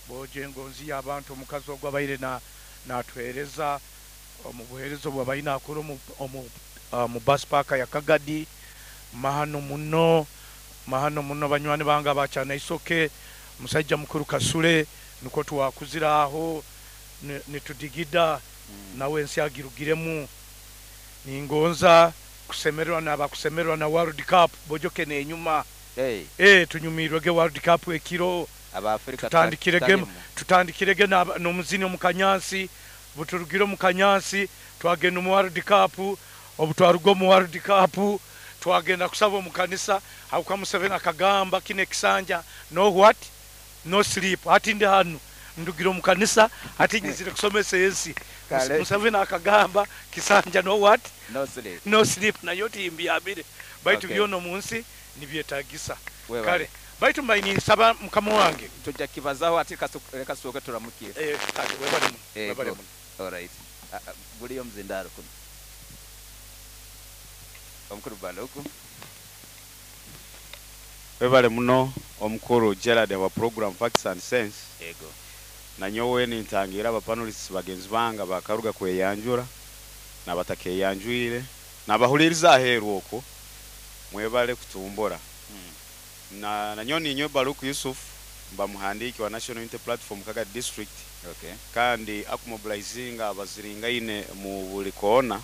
Bojo engonzi y'abantu, omukazi ogwo abaire natuheereza omu buheereza obu abaire nakora omu bus park ya Kagadi. Mahano muno, mahano muno. Banywani bange abakyana isoke, musaija mukuru Kasule, nukwo twakuzire aho nitudigida nawe ensi agirugiremu. Ningonza kusemererwa nabakusemererwa na World Cup bojoke nenyuma. Hey. Tunyumirwege World Cup ekiro. Abafrika. Tutandikirege, tutandikirege n'omuzini omu kanyansi. Buturugire omu kanyansi, twagenda omu World Cup. Obu twaruga omu World Cup, twagenda kusaba omu kanisa, habwokuba Museveni akagamba kino ekisanja, no what, no sleep. Hati ndi hanu, ndugire omu kanisa, hati nyizire kusomesa ensi. Kale. Museveni akagamba kisanja no what? No sleep. No sleep. Nayo timbyamire, baitu byona omu nsi nibyetagisa. Webale. Kale, baitu mbai ninsaba mukama wange. Tujja kibazaho ati leka tusooke turamukire. Kale, webale muno. Webale muno. Alright. Ah, ah, guliyo omuzindaaro kuno, omukuru Baluku. Webale muno, omukuru Gerard wa program Facts and Sense. Ego. Nanyowe nintangira abapanelists bagenzi bange bakaruga kweyanjura nabatakeyanjwire nabahuliriza aheeru okwo, mwebale kutumbura. Na nanyowe ninyowe Baluku Yusuf, mba muhandiki wa National Unity Platform Kagadi District, kandi akumobilizinga abaziringaine mu buli koona,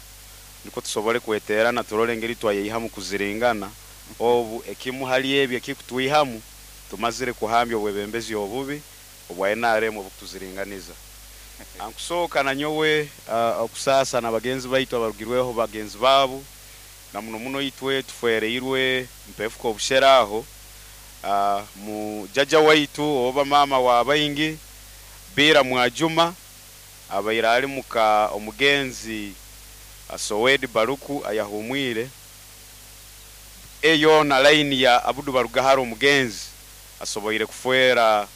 niko tusobole kweterana, turole engeri twayeyihamu kuziringana. Obu ekimu hali ebyo ekikutwihamu, tumazire kuhambya obwebembezi obubi obwa NRM obukutuziringaniza. Ankusooka nanyowe okusasa n'abagenzi baitu abarugirweho bagenzi baabo, na muno muno itwe tufereirwe mpefuka obushera aho mu jaja waitu oba mama wa baingi Bira Mwajuma, abaire ali muka omugenzi Sowedi Baluku ayahumwire eyo na line ya Abudu Barugahara. Omugenzi asoboire kufwera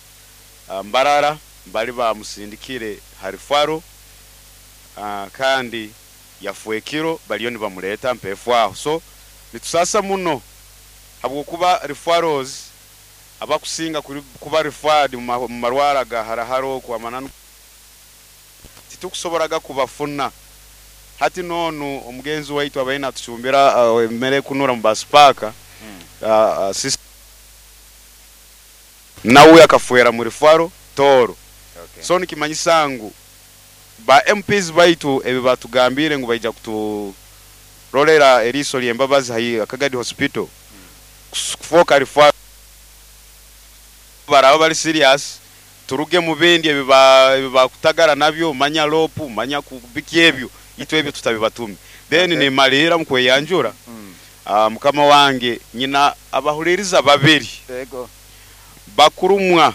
Mbarara, bali bamusindikire harifaro, kandi yafwekiro baliyo nibamuleta mpefu aho. So nitusasa muno habwokuba referrals abakusinga kuba referred mu marwara ga harahara okwo amananu titukusoboraga kubafuna. Hati nonu omugenzi waitu abaine natucumbira emmere kunura mu basipaka, nawe akafwera mu referral Toro. So nikimanyisa ngu ba MPs baitu ebi batugambire ngu baija kuturolera eriiso ly'embabazi hai Kagadi Hospital kufoka referral, baraba bali serious. Turuge mu bindi ebi bakutagara nabyo, manya lopu, manya kubiki ebyo, itwe ebyo tutabibatume. Then nimalira mu kweyanjura. Mukama wange, nyina abahuliriza babiri bakurumwa.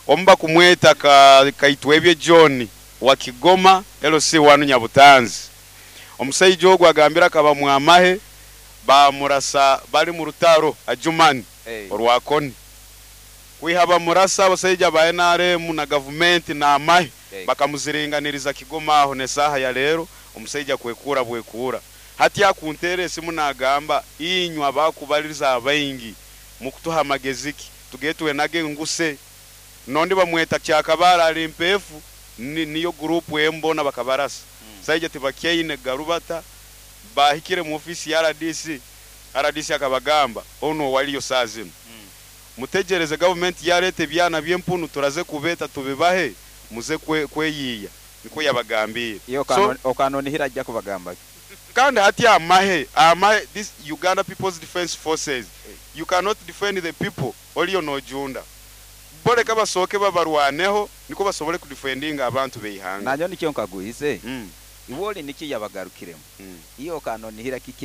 Omu bakumweta Kaitwebye John wa Kigoma LC wanu Nyabutanzi. Omusaija ogwo agambira akaba mwamahe, bamurasa bali mu rutaro Ajumani orwakoni. Kwiha bamurasa, abasaija ba NRM na gavumenti n'amahe bakamuziringaniriza Kigoma aho. Nesaha ya leero omusaija kwekura bwekura. Hati akunteera esimu nagamba, inywe abakubaliriza abaingi mukutuha amagezi ki, tugende twenage nguse. Nondi bamweta Kyakabara, ali mpefu niyo group embona bakabarasa. Saija tibakyaine garubata. Bahikire mu ofisi ya RDC, RDC akabagamba ono waliyo saa zino, mutegereze gavumenti yareta ebyana by'empunu, turaze kubeta tubibahe, muze kweyiya. Niko yabagambire. Iyo. So, okanonihira ajja kubagamba ki? Kandi hati amahe, this Uganda People's Defence Forces, you cannot defend the people oliyo nojunda. Boleka basooke babarwaneho, niko basobole kudefendinga abantu beihanga. Nanyo nikyo nkaguhize. Iwe oli niki yabagarukiremu? Iyo okanonihira kiki?